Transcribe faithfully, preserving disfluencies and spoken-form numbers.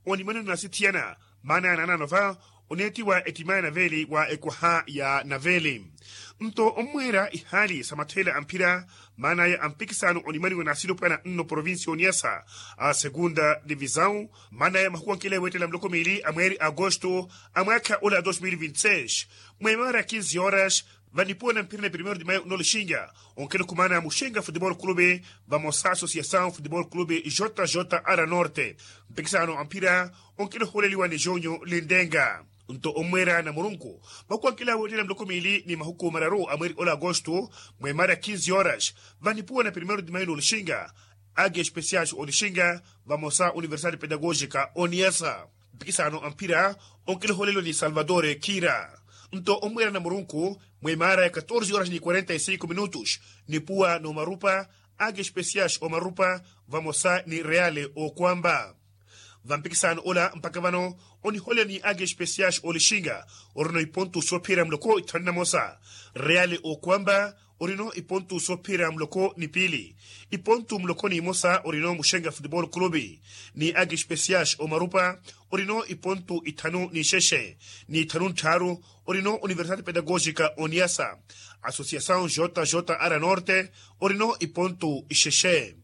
onimani onasithiyana maana ya naanano va oneettiwa ettimaya naveeli wa ekwaha ya naveeli. Nto ommweera ihaali sa matheela amphira maanaya a mpikisano onimaniwa n'asilopwana nno provincia oniyasa a segunda divisão maanaya mahuku ankile weettela muloko miili a mweeri agosto a mwaakha ola dos mil vinti seis mwemaara ya kinzi horas vanipuwa na mphira ni primeiro de maio nno lixinga onkile khumaana muxenga futebol clube vamosa associação futebol clube jjr norte mpikisano a mphira onkile ohuuleliwa ni jonyo lindenga. Nto ommweera na murunku mahuku ankile aweettela muloko miili ni mahuku mararu a mweeri ola agosto mwemaara ya kinzi horas vanipuwa na primeiro de maio nno lixinga agi especiais olixinga vamosa universidade pedagógica oniyasa mpikisano a mphira onkile ohuuleliwa ni salvador kira. Nto ommweera na murunku mwemaara ya katorze horas ni quarenta e cinco minutos nipuwa n'omarupa agi especiais omarupa vamosa ni reale okwamba vampikisano ola mpakha vano oniholela ni agi especiais olixinga orino ipontu soophiyerya muloko ithanu na mosa reale okwamba orino ipontu soophiyerya muloko ni piili ipontu muloko ni imosa orino muxenga futebol clube ni agi especiais omarupa orino ipontu ithanu ni ixexe ni ithanu nttharu orino universidade pedagógica oniyasa associação jjr norte orino ipontu ixexe